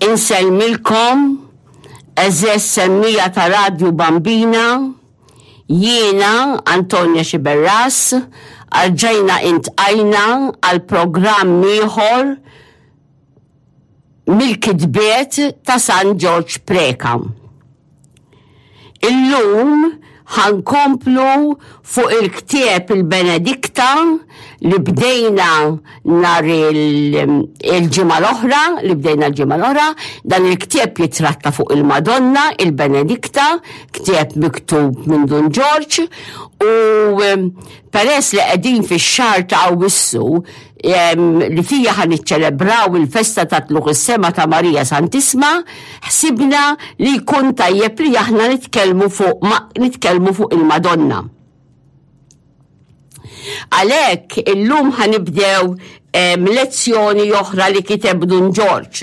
Insellmilkom, għeżież semmiegħa ta' Radju Bambina, jiena Antonia Sciberras, rġajna intqajna għal programm ieħor mill-kitbiet ta' San Ġorġ Preca. Illum ħa nkomplu fuq il-ktieb il-Benedikta li bdejna nhar il-ġimgħa l-oħra, li bdejna l-ġimgħa l-oħra, dan il-ktieb jitratta fuq il-Madonna, il-Benedikta, ktieb miktub minn Dun Ġorġ u peress li qegħdin fix-xahar ta' Awwissu li fija ħa niċċelebraw il-festa ta' Tlugħ is-Sema ta' Marija Santisma, ħsibna li jkun tajjeb li aħna nitkellmu fuq nitkellmu fuq il-Madonna. Għalhekk illum ħa nibdew lezzjoni oħra li kiteb Dun Ġorġ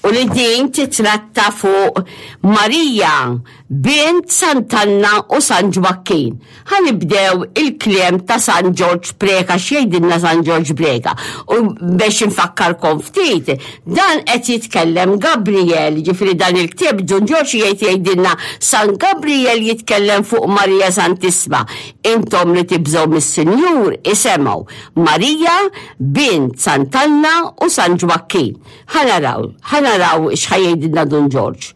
u li din titratta fuq Marija bint Sant'Anna u San Ġwakkin. Ħa nibdew il-kliem ta' San Ġorġ Preca x'jgħidilna San Ġorġ Preca. U biex infakkarkom ftit, dan qed jitkellem Gabriel, ġifieri dan il-ktieb Dun Ġorġ jgħid jgħidilna San Gabriel jitkellem fuq Marija Santissma. Intom li tibżgħu mis-Sinjur isemgħu Marija bint Sant'Anna u San Ġwakkin. Ħa naraw, ħa naraw x'ħa jgħidilna Dun Ġorġ.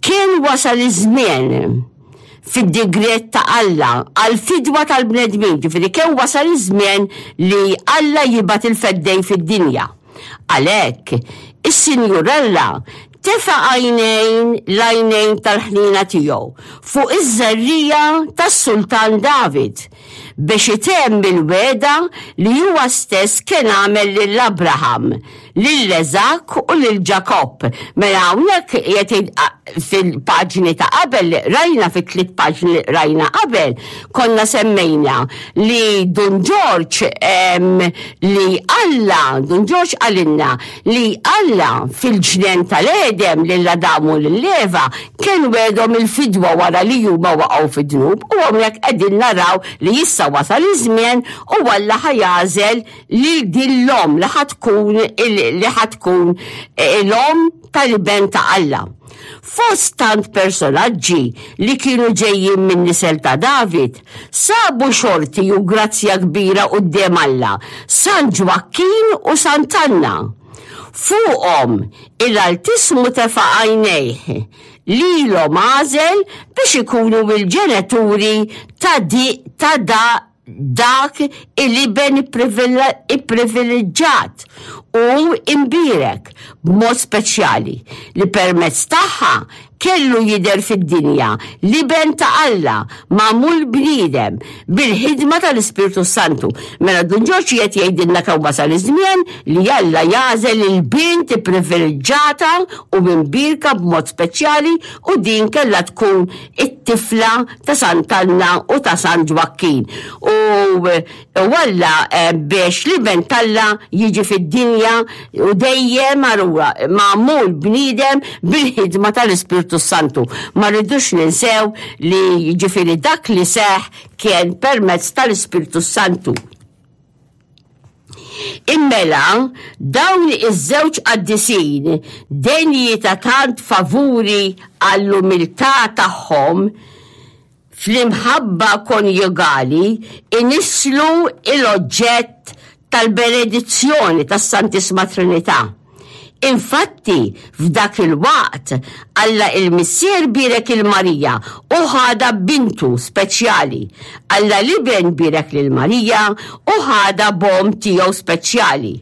Kien wasal iż-żmien fid-digriet ta' Alla għall-fidwa tal-bnedmin, ġifieri kemm wasal iż-żmien li Alla jibgħat il-Feddej fid-dinja. Għalhekk, is-Sinjur Alla tefa' għajnejn l-għajnejn tal-ħniena tiegħu fuq iż-żerriegħa tas-Sultan David biex itemm il-wegħda li huwa stess kien għamel lil Abraham lil Eżak u lil Ġakobb. Mela hawnhekk qiegħed fil-paġni ta' qabel li qrajna, fit-tliet paġni li qrajna qabel, konna semmejna li Dun Ġorġ li Alla, Dun Ġorġ qalilna li Alla fil-ġnien tal-Għedem lil Adam u lil Eva kien wegħedhom il-fidwa wara li huma waqgħu fid-dnub u hawnhekk qegħdin naraw li issa wasal iż-żmien u Alla ħa jagħżel lil din l-omm li ħa tkun li ħa tkun eh, l-omm tal-iben ta' Alla. Fost tant personaġġi li kienu ġejjin minn nisel ta' David, sabu xorti u grazzja kbira quddiem Alla, San Ġwakkin u Sant'Anna. Fuqhom il-Altismu tefa' għajnejh, lilhom għażel biex ikunu il-ġenituri ta' di ta' da dak il-iben ipprivileġġat u imbierek b'mod speċjali li permezz tagħha kellu jidher fid-dinja l-Iben ta' Alla magħmul bniedem bil-ħidma tal-Ispirtu s-Santu. Mela Dun Ġorġ qiegħed jgħidilna kemm wasal iż-żmien li Alla jagħżel il-bint ipprivileġġata u imbierka b'mod speċjali u din kellha tkun it-tifla ta' Sant'Anna u ta' San Ġwakkin. U Alla eh, biex l-iben t'Alla jiġi fid-dinja u dejjem għarura magħmul bniedem bil-ħidma tal-Ispirtu Santu. Ma rridux ninsew li ġifieri dak li seħ kien permezz tal-Ispirtu Santu. Immela, dawn iż-żewġ qaddisin denji ta' tant favuri għall-umiltà tagħhom fl-imħabba konjugali inisslu l-oġġett tal-benedizzjoni tas-Santissma Trinità. Infatti, f'dak il-waqt, Alla il-Missier bierek 'il Marija u ħadha b'bintu speċjali. Alla l-Iben bierek lil Marija u ħadha b'omm tiegħu speċjali.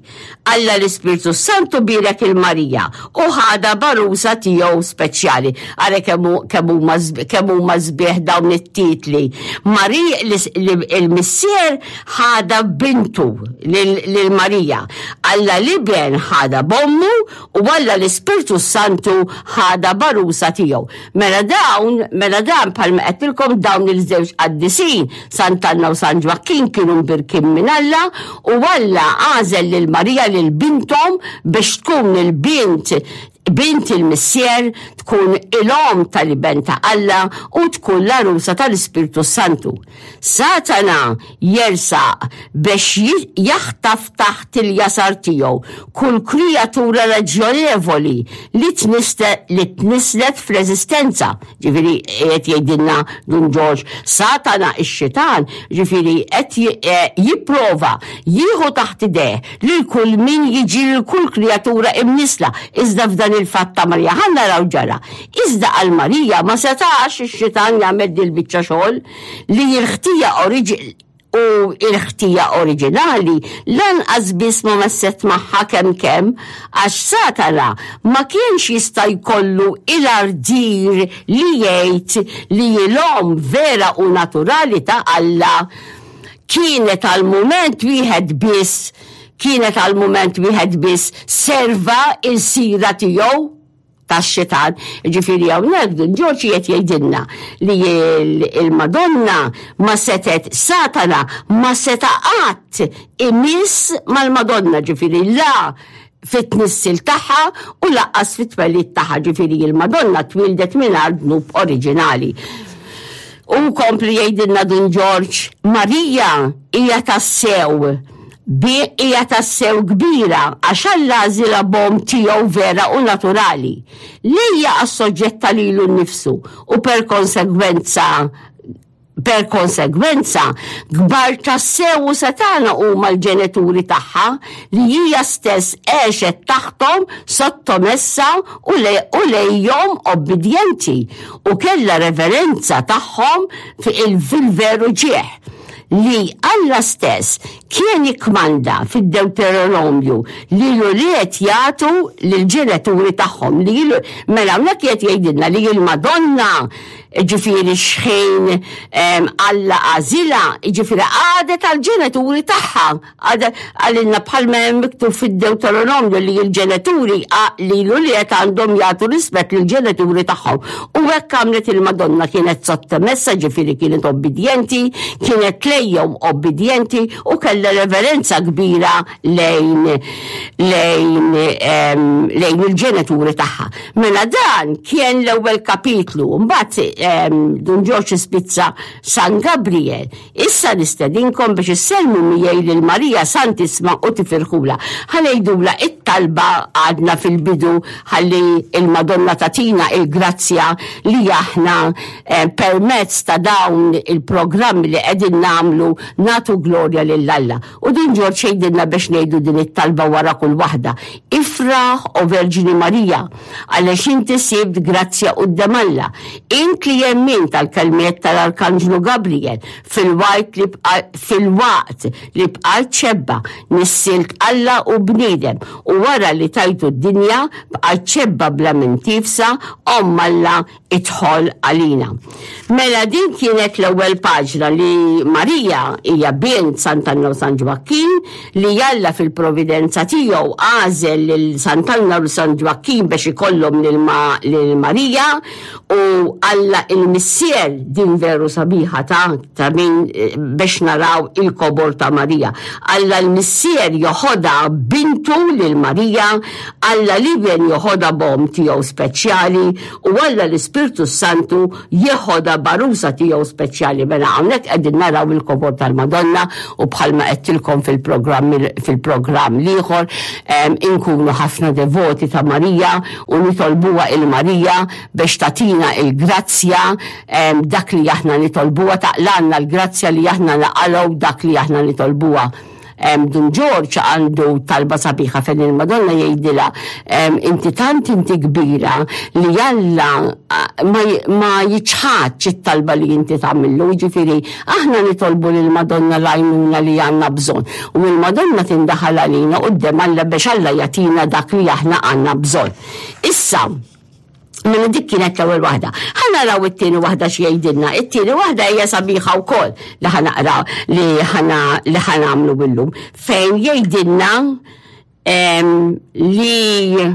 Alla l-Ispirtu s-Santu bierek 'il Marija u ħadha b'għarusa tiegħu speċjali. Ara kemm huma kemm huma sbieħ dawn it-titli. Marija il-Missier ħadha b'bintu lil Marija. Alla l-Iben ħadha b'ommu u Alla l-Ispirtu s-Santu ħadha b'għarusa tiegħu. Mela dawn, mela dan bħalma għedtilkom dawn il-żewġ qaddisin, Sant'Anna u San Ġwakkin kienu mbirkin minn Alla u Alla għażel lil Marija lil binthom biex tkun il-bint bint il-Missier, tkun il-omm tal-Iben ta' Alla u tkun l-għarusa tal-Ispirtu Santu. Satana jersaq biex jaħtaf taħt il-jasar tiegħu kull krijatura raġjonevoli li tnisslet fl-eżistenza. Ġifieri qed jgħidilna Dun Ġorġ, Satana ix-xitan, ġifieri qed eh, jipprova jieħu taħt idejh lil kull min jiġi lil kull krijatura imnissla, iżda f'dan il-fatt ta' Marija ħa naraw ġara. Iżda għal Marija ma setax ix-xitan jagħmel dil-biċċa xogħol li l-ħtija u l-ħtija oriġinali lanqas biss ma messet magħha kemm kemm għax Satana ma kienx jista' jkollu il-ardir li jgħid li l-omm vera u naturali ta' Alla kienet għal mument wieħed biss kienet għal mument wieħed biss serva il-sira tiegħu tax-xitan. Ġifieri hawnhekk Dun Ġorġ qed jgħidilna li il-Madonna ma setet Satana ma seta qatt imiss mal-Madonna, ġifieri la fit-tnissil tagħha u laqqas fit-twelid tagħha, ġifieri il-Madonna twildet mingħajr dnub oriġinali. U kompli jgħidilna Dun Ġorġ, Marija hija tassew bi hija tassew kbira għax Alla għażilha b'omm tiegħu vera u naturali, li hija assoġġetta lilu nnifsu u per konsegwenza per konsegwenza kbar tassew u setgħana huma l-ġenituri tagħha li hija stess għexet taħthom sottomessa u lejhom obbidjenti u kellha reverenza tagħhom fil-veru ġieħ li Alla stess kien ikkmanda fid-Dewteronomju li l-ulied jagħtu lill-ġenituri tagħhom li mela hawnhekk qed jgħidilna li l-Madonna ġifieri xħin Alla għażilha, ġifieri għadet għall-ġenituri tagħha. Għalilna bħalma hemm miktub fid-Dewteronomju li l-ġenituri li l-ulied għandhom jagħtu rispett lill-ġenituri tagħhom. U hekk għamlet il-Madonna kienet sottomessa, ġifieri kienet obbidjenti, kienet lejhom obbidjenti u kellha reverenza kbira lejn lejn lejn il-ġenituri tagħha. Mela dan kien l-ewwel kapitlu, mbagħad Dun Ġorġ ispizza San Gabriel. Issa nistedinkom biex issellmu miegħi lil Marija Santissma u tifirħulha. Ħa ngħidulha it-talba għadna fil-bidu ħalli il-Madonna tagħtina il-grazzja li aħna eh, permezz ta' dawn il-programmi li qegħdin nagħmlu nagħtu glorja lil Alla. U din Ġorġ jgħidilna biex ngħidu din it-talba wara kull waħda. Ifraħ o Verġni Marija, għaliex inti sibt grazzja quddiem Alla. Int li jemmin tal-kelmiet tal-Arkanġlu Gabriel fil-waqt li fil-waqt li bqajt xebba nissilt Alla u bniedem u wara li tajtu d-dinja bqajt xebba bla minn tifsa omm Alla idħol għalina. Mela din kienet l-ewwel paġna li Marija hija bint Sant'Anna u San Ġwakkin li Alla fil-providenza tiegħu għażel lil Sant'Anna u San Ġwakkin biex ikollhom lil Marija u Alla il-Missier din veru sabiħa ta' ta' min eh, biex naraw il-kobor ta' Marija. Alla l-Missier joħodha bintu lil Marija, Alla l-Iben joħodha b'omm tiegħu speċjali u Alla l-Ispirtu Santu jeħodha b'għarusa tiegħu speċjali. Mela hawnhekk qegħdin naraw il-kobor tal-Madonna u bħalma għedtilkom fil-programm fil-programm l-ieħor inkunu ħafna devoti ta' Marija u nitolbuha il-Marija biex tagħtina il-grazzja dak li aħna nitolbuha taqlanna l-grazzja li aħna naqalgħu dak li aħna nitolbuha. Dun Ġorġ għandu talba sabiħa fejn il-Madonna jgħidilha inti tant inti kbira li Alla ma jiċħadx it-talba li inti tagħmillu, jiġifieri aħna nitolbu lill-Madonna l-għajnuna li għandna bżonn u l-Madonna tindaħal għalina quddiem Alla biex Alla jagħtina dak li aħna għandna bżonn. Issa, Mela dik kienet l-ewwel waħda. Ħa naraw it-tieni waħda xi jgħidilna. It-tieni waħda hija sabiħa wkoll li ħa naqra li ħana li ħa nagħmlu illum fejn jgħidilna li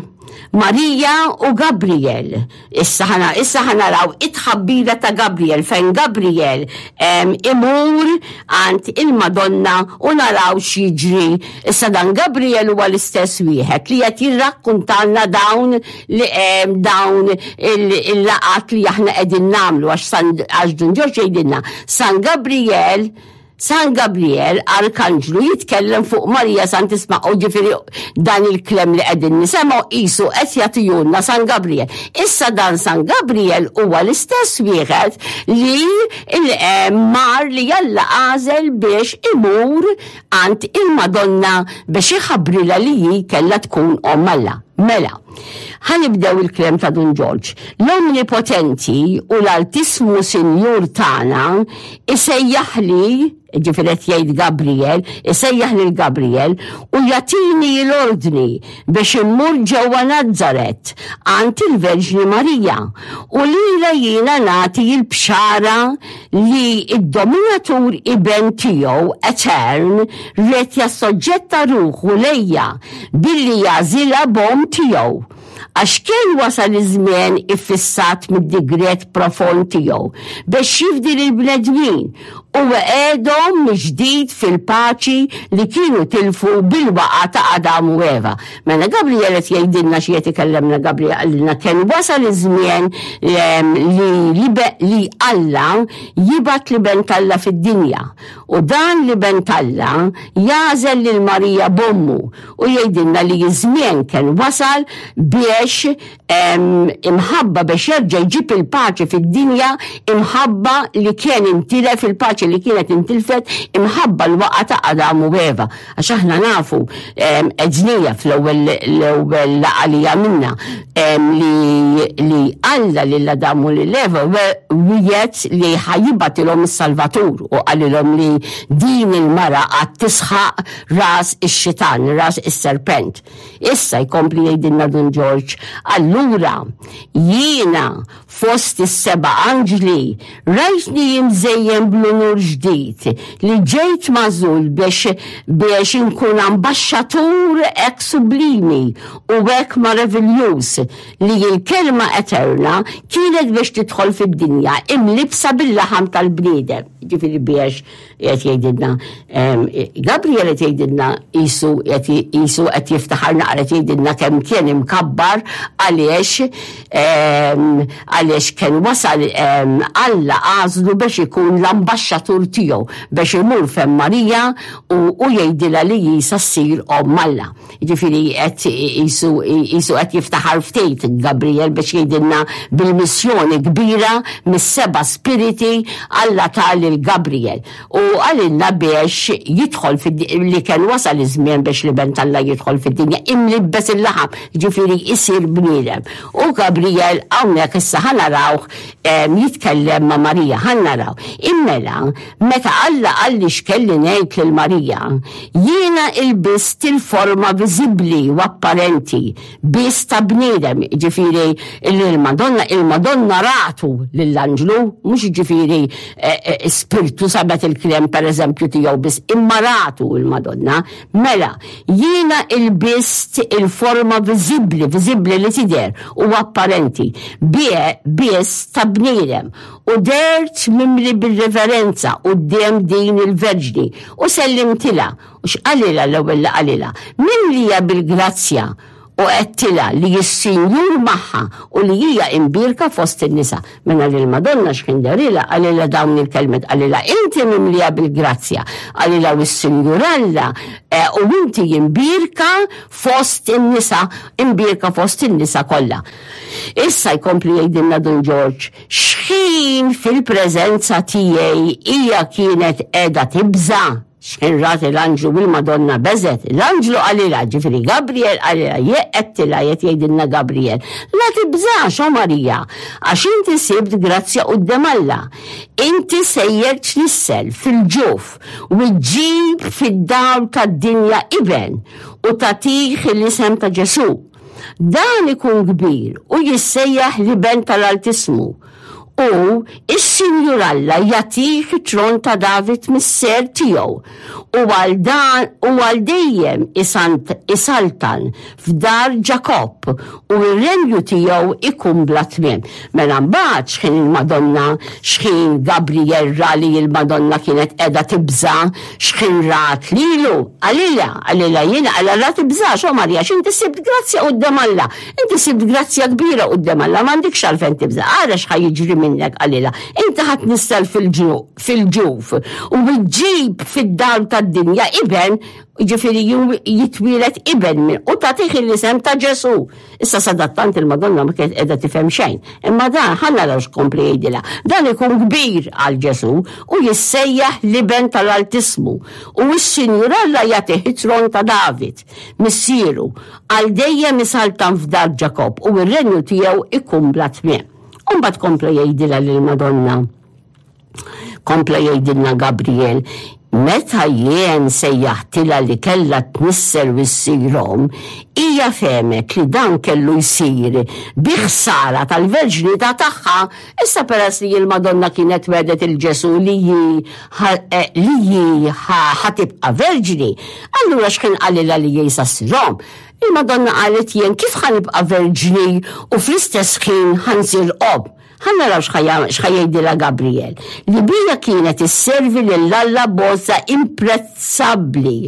Marija u Gabriel. Issa ħana issa ħanaraw it-tħabbira ta' Gabriel fejn Gabriel imur għand il-Madonna u naraw x'jiġri. Issa dan Gabriel huwa l-istess wieħed li qed jirrakkuntalna dawn li dawn il-laqat li aħna qegħdin nagħmlu għax Dun Ġorġ jgħidilna San Gabriel San Gabriel, Arkanġlu, jitkellem fuq Marija Santisma u ġifieri dan il-klem li qegħdin nisemgħu qisu qed jagħtihulna San Gabriel. Issa dan San Gabriel huwa l-istess wieħed li eh, mar li Alla għażel biex imur għand il-Madonna biex iħabbrilha li hi kellha tkun omm Alla. Mela, ħa nibdew il-klem ta' Dun Ġorġ. L-Omnipotenti u l-Altismu Sinjur tagħna isejjaħli, ġifieri qed jgħid Gabriel, isejjaħ lil Gabriel u jagħtini l-ordni biex immur ġewwa Nazzaret għand il-Verġni Marija u lilha jiena nagħti l-bxara li d-Dominatur Iben tiegħu Etern ried jassoġġetta ruħu lejja billi jagħżilha b'omm tiegħu, għax kien wasal iż-żmien iffissat mid-digriet profond tiegħu biex jifdi lill-bnedmin u iqegħedhom mill-ġdid fil-paċi li kienu tilfu bil-waqgħa ta' Adam u Eva. Mela Gabriel qed jgħidilna xi qed ikellemna Gabriel qalilna kien wasal iż-żmien li li Alla jibgħat l-Iben t'Alla fid-dinja u dan l-Iben t'Alla jagħżel lil Marija b'ommu u jgħidilna li ż-żmien kien wasal biex imħabba biex jerġa' jġib il-paċi fid-dinja imħabba li kien intilef il-paċi li kienet intilfet imħabba l-waqgħa ta' Adam u Eva. Għax aħna nafu għednija fl-ewwel l-ewwel laqgħa li għamilna li Alla lil Adam u lil Eva wiegħed li ħa jibgħatilhom is-Salvatur u qalilhom li din il-mara għad tisħaq ras ix-xitan, ras is-serpent. Issa jkompli jgħidilna Dun Ġorġ, allura jiena fost is-seba' anġli rajtni imżejjen bl-unur ġdid li ġejt magħżul biex biex inkun ambaxxatur hekk sublimi u hekk maraviljuż li l-Kelma eterna kienet biex tidħol fid-dinja imlibbsa bil-laħam tal-bniedem. Ġifieri biex Qed jgħidilna Gabriel qed jgħidilna qisu qed qisu qed jiftaħar naqra qed jgħidilna kemm kien imkabbar għaliex għaliex kien wasal Alla għażlu biex ikun l-ambaxxatur tiegħu biex imur fejn Marija u jgħidilha li hi sa ssir omm Alla. Jiġifieri qed qisu qisu qed jiftaħar ftit Gabriel biex jgħidilna bil-missjoni kbira mis-seba' spiriti Alla ta lil Gabriel u qalilna biex jidħol li kien wasal iż-żmien biex l-Iben t'Alla jidħol fid-dinja imlibbes il-laħam, jiġifieri jsir bniedem. U Gabriel hawnhekk issa ħa narawh jitkellem ma' Marija, ħa naraw. Immela, Meta Alla qalli x'kelli ngħid lil Marija, jiena ilbist il-forma viżibbli u apparenti biss ta' bniedem, jiġifieri li l-Madonna, il-Madonna ratu lill-anġlu, mhux jiġifieri spirtu sabet il-kliem pereżempju tiegħu biss, imma ratu l-Madonna. Mela, jiena ilbist il-forma viżibbli, viżibbli li tidher u apparenti, biss ta' bniedem, U dehrt mimli bir-reverenza quddiem din il-Verġni, u sellimtilha. U x'qalilha l-ewwel li qalilha? Mimlija bil-grazzja, u għedtilha li s-Sinjur magħha u li hija imbierka fost in-nisa. Mela lill-Madonna x'ħin dehrilha qalilha dawn il-kelmiet, qalilha inti mimlija bil-grazzja, qalilha u s-Sinjur Alla u inti imbierka fost in-nisa, imbierka fost in-nisa kollha. Issa jkompli jgħidilna Dun Ġorġ, X'ħin fil-preżenza tiegħi hija kienet qiegħda tibża', x'ħin rat il-anġlu u l-Madonna beżgħet, l-anġlu qalilha, ġifieri Gabriel qalilha, jekk qedtilha qed jgħidilna Gabriel, la tibżax, o Marija, għax inti sibt grazzja quddiem Alla. Inti sejjer tnissel fil-ġuf u ġġib fid-dawl tad-dinja iben u tagħtih l-isem ta' Ġesù. Dan ikun kbir u jissejjaħ l-Iben tal-Altissmu. U is-Sinjur Alla jagħtih it-tron ta' David missier tiegħu, u għal dan u għal dejjem isaltan f'dar Ġakobb, u r-renju tiegħu ikun bla tmiem. Mela mbagħad x'ħin il-Madonna, x'ħin Gabriel ra li l-Madonna kienet qiegħda tibża', x'ħin rat lilu, qalilha, qalilha jiena, qalha la tibżax, o Marija, x'inti sibt grazzja quddiem Alla. Inti sibt grazzja kbira quddiem Alla, m'għandikx għalfejn tibża'. Ara x'ħa jiġri minnek, qalilha. Inti ħa tnissel fil-ġuf u ġġib fid-dawl tad-dinja iben, jiġifieri jitwieled iben minn u tagħtih l-isem ta' Ġesù. Issa sadattant il-Madonna ma kienet qiegħda tifhem xejn. Imma dan ħa naraw x'kompli jgħidilha. Dan ikun kbir għal Ġesù u jissejjaħ l-Iben tal-Altissmu u s-Sinjur Alla jagħtih it-tron ta' David. Missieru, għal dejjem isaltan f'dar Ġakobb u r-renju tiegħu ikun bla tmiem. U mbagħad kompla jgħidilha lill-Madonna, kompla jgħidilna Gabriel, meta jien sejjaħtilha li kellha tnissel u ssir omm, hija fehmet li dan kellu jsir bi ħsara tal-verġnità tagħha. Issa peress li l-Madonna kienet wegħdet il Ġesù li hi eh, li hi ħa tibqa' verġni, allura x'kien qalilha li hi sa ssir omm? Il-Madonna qalet jien kif ħa nibqa' verġni u fl-istess ħin ħa nsir omm? Ħa naraw x'ħa jgħidilha Gabriel, li bija kienet isservi lil Alla b'għożża imprezzabbli.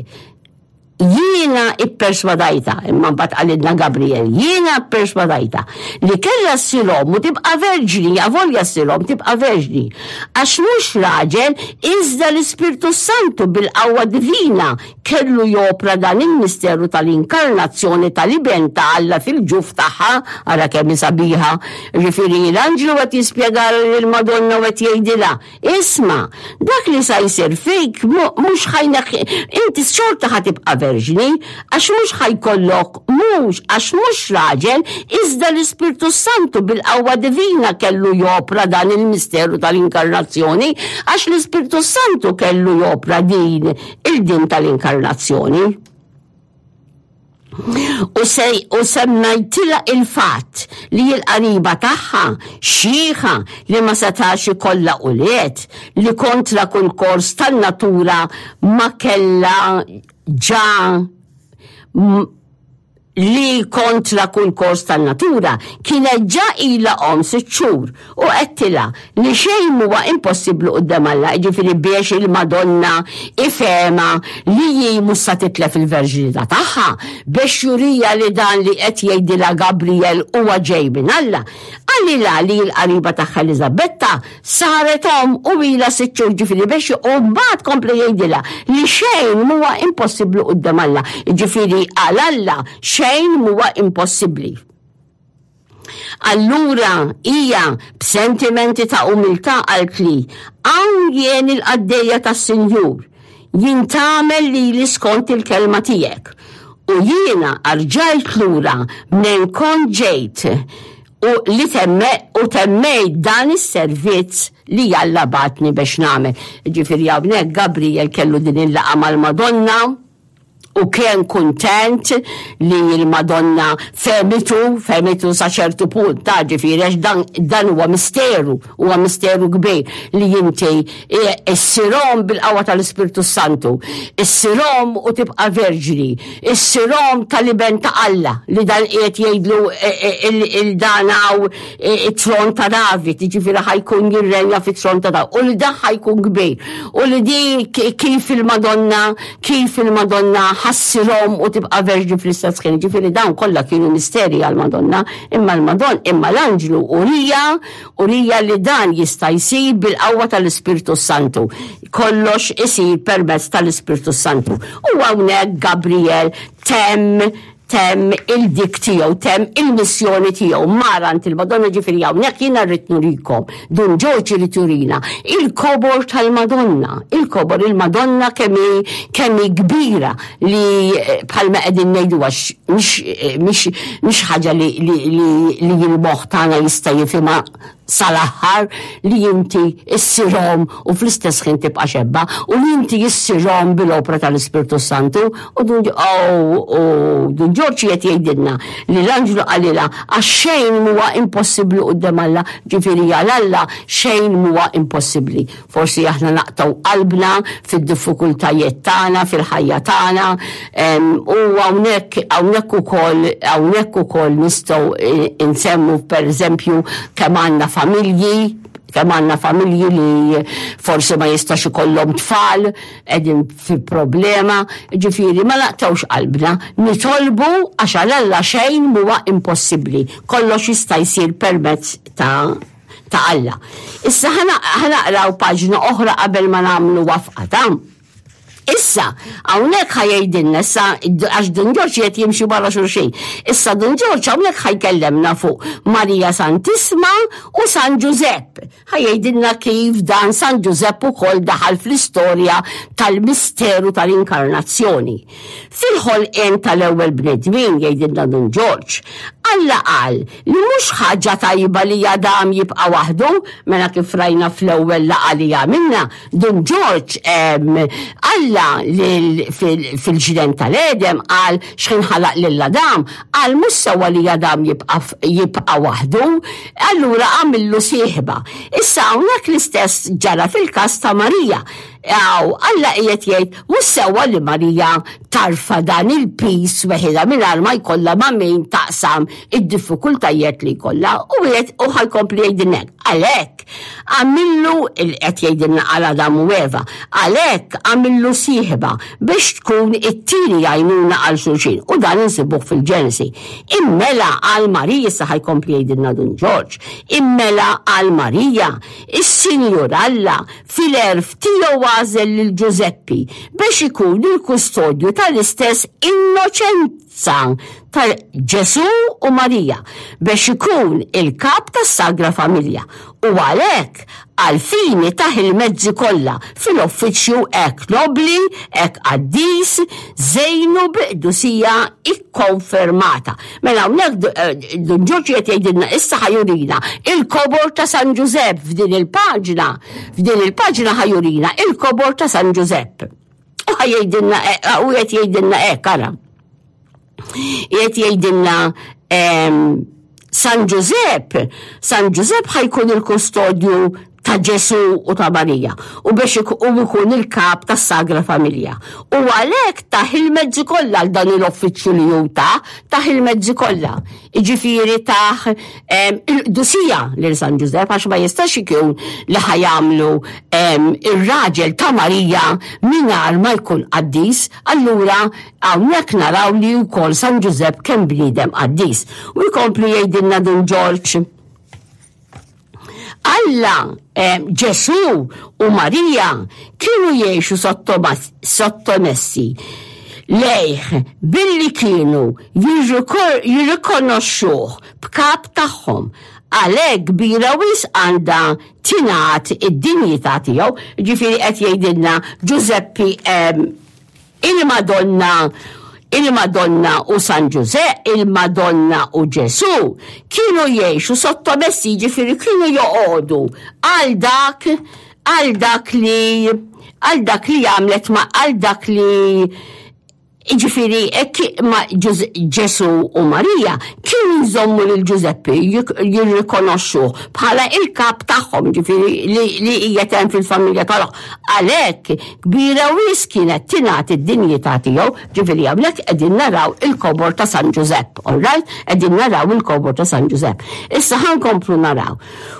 Jiena ipperswadajtha, imma mbagħad qalilna Gabriel, jiena pperswadajtha li kellha ssir omm u tibqa' verġni, avolja ssir omm tibqa' verġni. Għax mhux raġel, iżda l-Ispirtu s-Santu bil-qawwa divina kellu jopra dan il-misteru tal-inkarnazzjoni tal-Iben ta' Alla fil-ġuf tagħha, ara kemm hi sabiħa. Jiġifieri l-anġlu qed jispjegalha lill-Madonna u qed jgħidilha, Isma', dak li sa jsir fik mhux ħa jneħħi, inti xorta ħa tibqa' verġni, għax mhux ħa jkollok, mhux, għax mhux raġel, iżda l-Ispirtu s-Santu bil-qawwa divina kellu jopra dan il-misteru tal-inkarnazzjoni, għax l-Ispirtu s-Santu kellu jopra din il-din tal-inkarnazzjoni. U, sej, u semmejtilha il-fatt li l-qariba tagħha xieħa li ma setax ikollha ulied li kontra kull kors tan-natura ma kellha ġa li kontra kull kors tan-natura kienet ġa ilha omm sitt xhur u għedtilha li xejn m'huwa impossibbli quddiem Alla, jiġifieri biex il-Madonna ifehmha li hi mhux sa titlef il-verġinità tagħha, biex juriha li dan li qed jgħidilha Gabriel huwa ġej minn Alla. Qalilha li l-qariba tagħha Eliżabetta saret omm u ilha sitt xhur, jiġifieri biex u mbagħad kompla jgħidilha li xejn m'huwa impossibbli quddiem Alla, jiġifieri għal Alla xejn m'huwa impossibbli. Allura hija b'sentimenti ta' umiltà qaltli, Hawn jien il-qaddejja tas-Sinjur, jintgħamel lili skont il-kelma tiegħek. U jiena rġajt lura mnejn kont ġejt u li temme u temmejt dan is-servizz li Alla bagħatni biex nagħmel. Ġifieri hawnhekk Gabriel kellu din il-laqgħa mal-Madonna u kien kuntent li l-Madonna fehmitu, fehmitu sa ċertu punt, ta' ġifieri għax dan, dan huwa misteru, huwa misteru kbir li inti e, issirhom bil-qawwa tal-Ispirtu Santu, issirhom u tibqa' verġni, issirhom tal-iben ta' Alla li dan qiegħed jgħidlu e, e, il-dan hawn it-tron ta' David, jiġifieri ħajkun jirrenja fit-tron ta' David, u li dan ħajkun kbir, u li di kif il-Madonna, kif il-Madonna ħassirhom u tibqa' verġni fl-istess ħin, jiġifieri dawn kollha kienu misteri għall-Madonna, imma l-Madonna, imma l-anġlu urija, urija li dan jista' jsir bil-qawwa tal-Ispirtu Santu. Kollox isir permezz tal-Ispirtu Santu. U hawnhekk Gabriel temm temm il-dik tiegħu, temm il-missjoni tiegħu, mar għand il-Madonna ġifieri hawnhekk jiena rrid nurikom, Dun Ġorġ irid jurina il-kobor tal-Madonna, il-kobor il-Madonna kemm hi kemm hi kbira li eh, bħalma qegħdin ngħidu għax mhix eh, mhix ħaġa li li li li l-moħħ tagħna jista' jifhimha. sal-aħħar li inti issir omm u fl-istess ħin tibqa' xebba u li inti issir omm bil-opra tal-Ispirtu Santu u Dun oh, u Dun Ġorġ qed jgħidilna li l-anġlu qalilha għax xejn mhuwa impossibbli quddiem Alla, ġifieri għal Alla xejn mhuwa impossibbli. Forsi aħna naqtgħu qalbna fid-diffikultajiet tagħna, fil-ħajja tagħna, u hawnhekk hawnhekk ukoll hawnhekk ukoll nistgħu nsemmu pereżempju kemm għandna familji kemm għandna familji li forsi ma jistax ikollhom tfal, qegħdin fi problema, ġifieri ma naqtgħux qalbna, nitolbu għax għal Alla xejn mhuwa impossibbli, kollox jista' jsir permezz ta' ta' Alla. Issa ħanaqraw paġna oħra qabel ma nagħmlu wafqa ta' Issa, hawnhekk ħajejdilna issa għax Dun Ġorġ qed jimxi barra xulxin. Issa Dun Ġorġ hawnhekk ħajkellemna fuq Marija Santisma u San Ġużepp. Ħajejdilna kif dan San Ġużepp ukoll daħal fl-istorja tal-misteru tal-inkarnazzjoni. Fil-ħolqien tal-ewwel bnedmin, jgħidilna Dun Ġorġ, Alla qal li mhux ħaġa tajba li Adam jibqa' waħdu, mela kif rajna fl-ewwel laqgħa li għamilna, Dun Ġorġ Alla fil-ġnien tal-Għedem qal x'ħin ħalaq lil Adam, qal mhux sewwa li Adam jibqa' waħdu, allura għamillu sieħba. Issa hawnhekk l-istess ġara fil-każ ta' Marija. Aw, Alla qiegħed jgħid mhux sewwa li Marija tarfa' dan il-piż weħidha mingħajr ma jkollha ma' min taqsam id-diffikultajiet li jkollha u qiegħed u ħajkompli jgħidilna hekk. Għalhekk għamillu qed jgħidilna għal Adam u Eva, għalhekk għamillu sieħba biex tkun it-tieni għajnuna għal xulxin u dan insibuh fil-Ġenesi. Immela għal Marija issa ħajkompli jgħidilna Dun Ġorġ, immela għal Marija, is-Sinjur Alla Fil-għerf tiegħu għażel lil Ġużeppi biex ikun il-kustodju tal-istess innoċenza ta' Ġesù u Marija, biex ikun il-kap tas-Sagra Familja, u għalhekk għall-fini tah il-mezzi kollha fil-uffiċċju hekk nobbli, hekk qaddis, żejnu bi qdusija ikkonfermata. Mela hawnhekk eh, Dun Ġorġ qed jgħidilna issa ħajurina il-kobor ta' San Ġużepp f'din il-paġna, f'din il-paġna ħajurina il-kobor ta' San Ġużepp. U ħajjgħidilna eh, u qed jgħidilna hekk ara. Qed jgħidilna ehm, San Ġużepp, San Ġużepp ħajkun il-kustodju ta' Ġesu u ta' Marija u biex u jkun il-kap tas-Sagra Familja. U għalhekk taħ il-mezzi kollha għal dan il-offiċċju li hu ta' taħ il-mezzi kollha. Jiġifieri taħ il-qdusija lil San Ġużepp għax ma jistax ikun li ħajamlu ir-raġel ta' Marija mingħajr ma jkun qaddis, allura hawnhekk naraw li wkoll San Ġużepp kemm bniedem qaddis. U jkompli jgħidilna Dun Ġorġ Alla, eh, Ġesù u Marija kienu jgħixu sottomessi lejh billi kienu jirrikonoxxuh b'kap tagħhom. Għalhekk kbira wisq għandha tingħad id-dinjità tiegħu, ġifieri qed jgħidilna Ġużeppi eh, Il-Madonna Il-Madonna u San Ġużepp, il-Madonna u Ġesù kienu jgħixu sottomessi, jiġifieri kienu joqogħdu għal dak għal dak li għal dak li għamlet ma għal dak li Ġifiri, ma Ġesu u Marija kienu jżommu lil Ġużeppi jirrikonoxxu bħala il-kap tagħhom, ġifiri li hija hemm fil-familja tagħhom. Għalhekk Kbira wisq kienet tingħati d-dinjità tiegħu, ġifieri hawnhekk qegħdin naraw il-kobor ta' San Ġużepp, all right? Qegħdin naraw il-kobor ta' San Ġużepp. Issa ħa nkomplu naraw.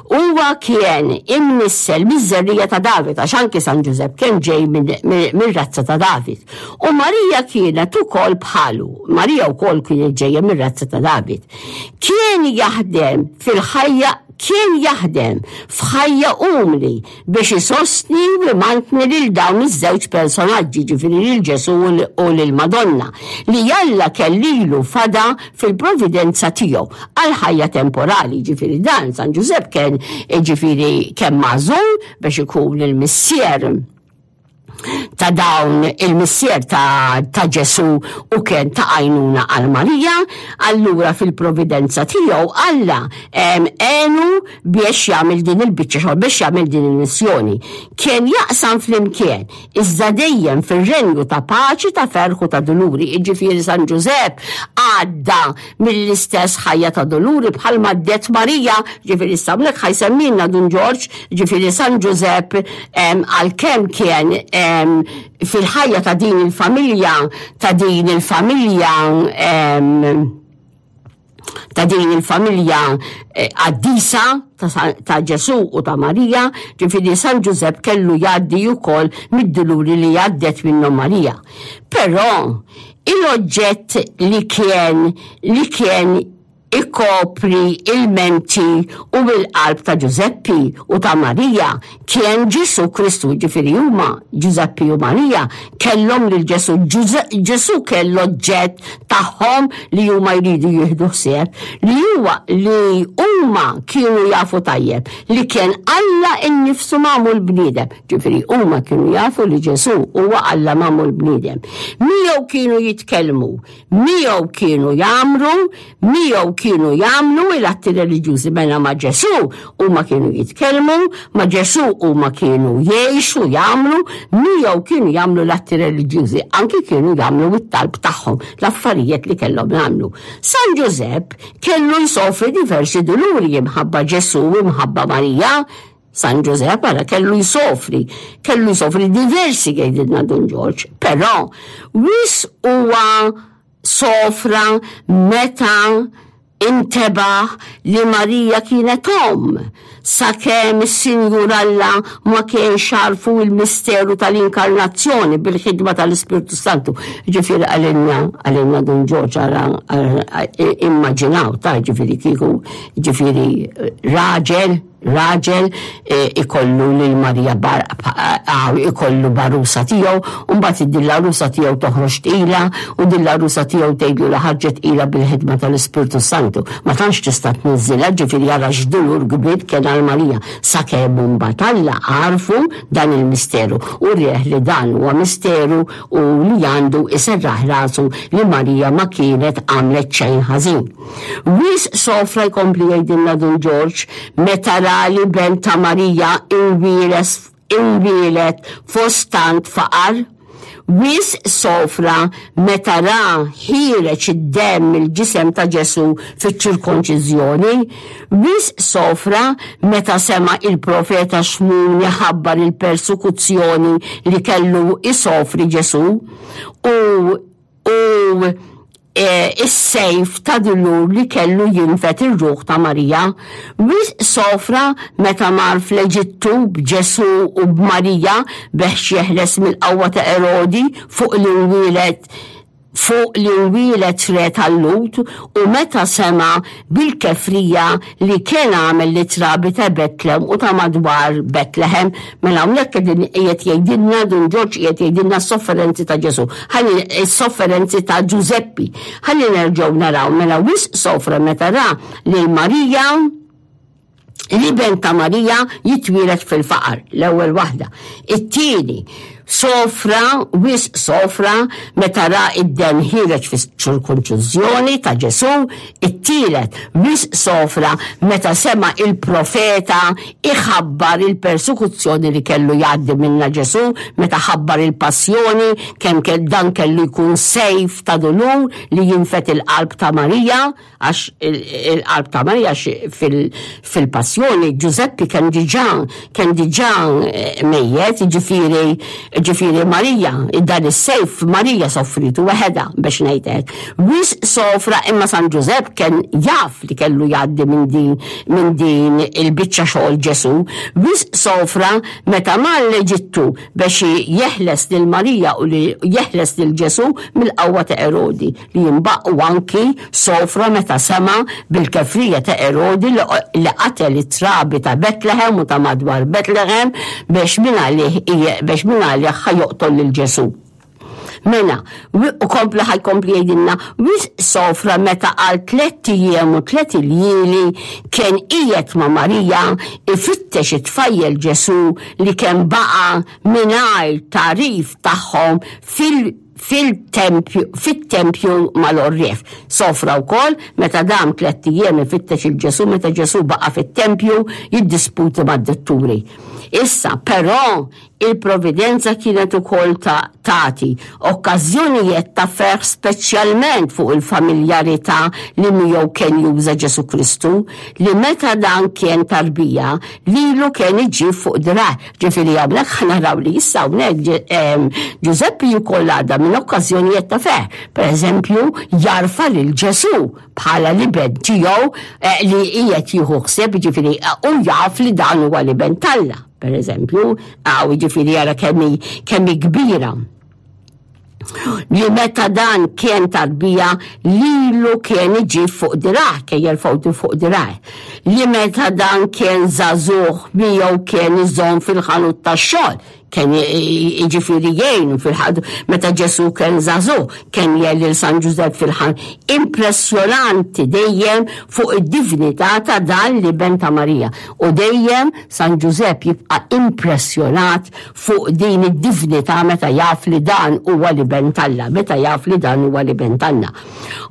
Huwa kien imnissel miż-żerriegħa ta' David, għax anki San Ġużepp kien ġej mir-razza ta' David. U Marija kienet ukoll bħalu, Marija wkoll kienet ġejja mir-razza ta' David. Kien jaħdem fil-ħajja kien jaħdem f'ħajja umli biex isostni u imantni lil dawn iż-żewġ personaġġi, ġifieri lil Ġesù u lil Madonna, li Alla kellilu fada fil-providenza tiegħu għall-ħajja temporali, ġifieri dan San Ġużepp kien ġifieri kemm magħżul biex ikun il-missier. ta' dawn il-missier ta', ta Ġesu u kien ta' għajnuna għal Marija, allura fil-providenza tiegħu Alla għenu biex jagħmel din il-biċċa xogħol, biex jagħmel din il-missjoni. Kien jaqsam flimkien, iżda dejjem fir-renju ta' paċi, ta' ferħ u ta' duluri. Jiġifieri San Ġużepp għadda mill-istess ħajja ta' duluri bħalma għaddiet Marija, ġifieri issa hawnhekk ħa jsemmilna Dun Ġorġ, ġifieri San Ġużepp għalkemm kien fil-ħajja ta' din il-familja, ta' din il-familja ta' din il-familja eh, qaddisa ta' Ġesu u ta' Marija, ġifieri San Ġużepp kellu jgħaddi wkoll mid-duluri li għaddet minnhom Marija. Però il-oġġett li kien li kien ikopri il-menti u il-qalb ta' Ġużeppi u ta' Marija kien Ġesu Kristu, ġifieri huma Ġużeppi u Marija kellhom lil Ġesu. Ġesu kellu oġġett tagħhom li huma jridu jieħdu ħsieb li huwa li huma kienu jafu tajjeb li kien Alla innifsu magħmul bniedem. Ġifieri huma kienu jafu li Ġesu huwa Alla magħmul bniedem. Miegħu kienu jitkellmu, miegħu kienu jagħmru, miegħu kienu jagħmlu l-atti reliġjużi mela ma' Ġesu huma kienu jitkellmu, ma' Ġesu huma kienu jgħixu, jagħmlu, miegħu kienu jagħmlu l-atti reliġjużi, anki kienu jagħmlu it-talb tagħhom, l-affarijiet li kellhom jagħmlu. San Ġużepp kellu jsofri diversi duluri imħabba Ġesu, imħabba Marija, San Ġużepp ara kellu jsofri, kellu jsofri diversi jgħidilna Dun Ġorġ, però wisq huwa sofra meta intebaħ li Marija kienet omm, sakemm is-Sinjur Alla ma kienx għarfu il-misteru tal-inkarnazzjoni bil-ħidma tal-Ispirtu Santu. Ġifieri għalinna, għalinna Dun Ġorġ ara immaġinaw ta' ġifieri kieku ġifieri raġel Raġel ikollu lil Marija ikollu b'għarusa tiegħu, u mbagħad din l-għarusa tiegħu toħroġ tqila, u din l-għarusa tiegħu tgħidlu li ħarġet tqila bil-ħidma tal-Ispirtu Santu. Ma tantx tista' tniżżilha, ġifieri ara x'dulur kbir kien għal Marija, sakemm imbagħad Alla għarfu dan il-misteru u rieh li dan huwa misteru u li għandu jserraħ rasu li Marija ma kienet għamlet xejn ħażin. Wisq sofra jkompli jgħidilna Dun Ġorġ meta ra li ben ta' Marija inwiles inwieled fost tant faqar. Wisq sofra meta ra ħiereġ id-demm mill-ġisem ta' Ġesù fiċ-ċirkonċiżjoni. Wisq sofra meta sema' il-profeta Xmun iħabbar il-persekuzzjoni li kellu isofri Ġesù u u e, is-sejf ta' dulur li kellu jinfed ir-ruħ ta' Marija. Wisq sofra meta mar fl-Eġittu b'Ġesù u b'Marija beħx jeħles mill-qawwa ta' Erodi fuq li nwieled fuq li nwieled re tal-Lhud u meta sema' bil-kefrija li kien għamel lit-trabi ta' Betlem u ta' madwar Betlehem. Mela hawnhekk qegħdin qiegħed jgħidilna Dun Ġorġ qiegħed jgħidilna s-sofferenzi ta' Ġesù. Ħalli s-sofferenzi ta' Ġużeppi. Ħalli nerġgħu naraw mela wisq sofra meta ra lil Marija l-iben ta' Marija jitwieled fil-faqar, l-ewwel waħda. It-tieni, sofra, wisq sofra, meta ra id-demm ħiereġ fis-ċirkonċiżjoni ta' Ġesù, it-tielet, wisq sofra meta sema' il-profeta iħabbar il-persekuzzjoni li kellu jgħaddi minnha Ġesù, meta ħabbar il-passjoni, kemm dan kellu jkun sejf ta' dulur li jinfed il-qalb ta' Marija. Għax il-qalb ta' Marija fil-passjoni Ġużeppi kemm diġà kemm diġà eh, mejjet, ġifieri ġifieri Marija, dan is-sejf Marija soffritu waħedha biex ngħidlek. Wis sofra imma San Ġużepp kien jaf li kellu jgħaddi minn din minn din il-biċċa xogħol Ġesù. Wis sofra meta mar l-Eġittu biex jeħles lil Marija u li jeħles lil Ġesù mill-qawwa ta' Erodi. li jinbaq u anki sofra meta sema' bil-kefrija ta' Erodi li qatel it-trabi ta' Betlehem u ta' madwar Betlehem biex mingħalih biex mingħalih ħa joqtol lil Ġesù. Mela, u kompla ħajkompli jgħidilna, wisq sofra meta għal tlett ijiem u tliet iljieli kien qiegħed ma' Marija ifittex it-tfajjel Ġesù li kien baqa' mingħajr tagħrif tagħhom fil fil-tempju fit-tempju mal-għorrief. Sofra wkoll meta dam tlett ijiem ifittex il Ġesù meta Ġesù baqa' fit-tempju jiddisputi mad-dutturi. Issa, però, Il-Providenza kienet ukoll ta' tagħti okkażjonijet ta' ferħ speċjalment fuq il-familjarità li miegħu kien juża Ġesù Kristu, li meta dan kien tarbija, lilu kien iġib fuq dirgħajh. Ġifieri hawnhekk ħa naraw li issa hawnhekk Ġużeppi wkoll għadda minn okkażjonijiet ta' ferħ. Per eżempju, jarfa lil Ġesù bħala l-iben tiegħu eh, li qiegħed jieħu ħsieb, ġifieri u jaf li dan huwa l-iben t'Alla. Per eżempju, għaw ġifiri jara kemmi kemmi kbira. Li meta dan kien tarbija lilu kien iġib fuq dirah, kien jerfgħu fuq dirah. Li meta dan kien żagħżugħ miegħu kien iżomm fil-ħanut tax-xogħol, kien jiġifieri jgħinu fil-ħadu meta Ġesù kien żagħżugħ, kien jgħin lil San Ġużepp fil-ħan. Impressjonanti dejjem fuq id-divinità ta' dan l-iben ta' Marija. U dejjem San Ġużepp jibqa' impressjonat fuq din id-divnità meta jaf li dan huwa l-Iben t'Alla, meta jaf li dan huwa l-Iben t'Alla.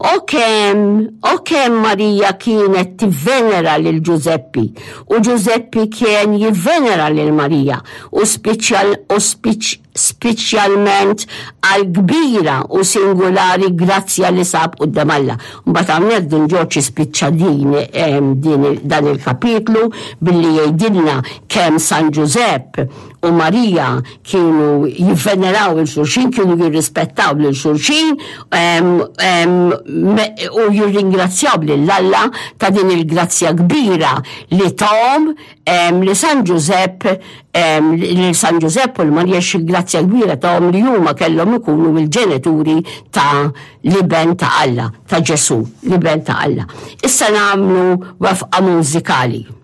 O kemm, o kemm Marija kienet tivvenera lil Ġużeppi u Ġużeppi kien jivvenera lil Marija u spiċjal u spiċ speċjalment għall-kbira u singulari grazzja li sab quddiem Alla. Mbagħad hawnhekk Dun Ġorġ jispiċċa din, din dan il-kapitlu billi jgħidilna kemm San Ġużepp u Marija kienu jivveneraw il xulxin, kienu jirrispettaw lil xulxin u jirringrazzjaw lil Alla ta' din il-grazzja kbira li tahom li San Ġużepp lil San Ġużepp u l-Marija xi grazzja kbira tahom li huma kellhom ikunu l-ġenituri ta' l-iben ta' Alla, ta' Ġesù, l-iben ta' Alla. Issa nagħmlu wafqa mużikali.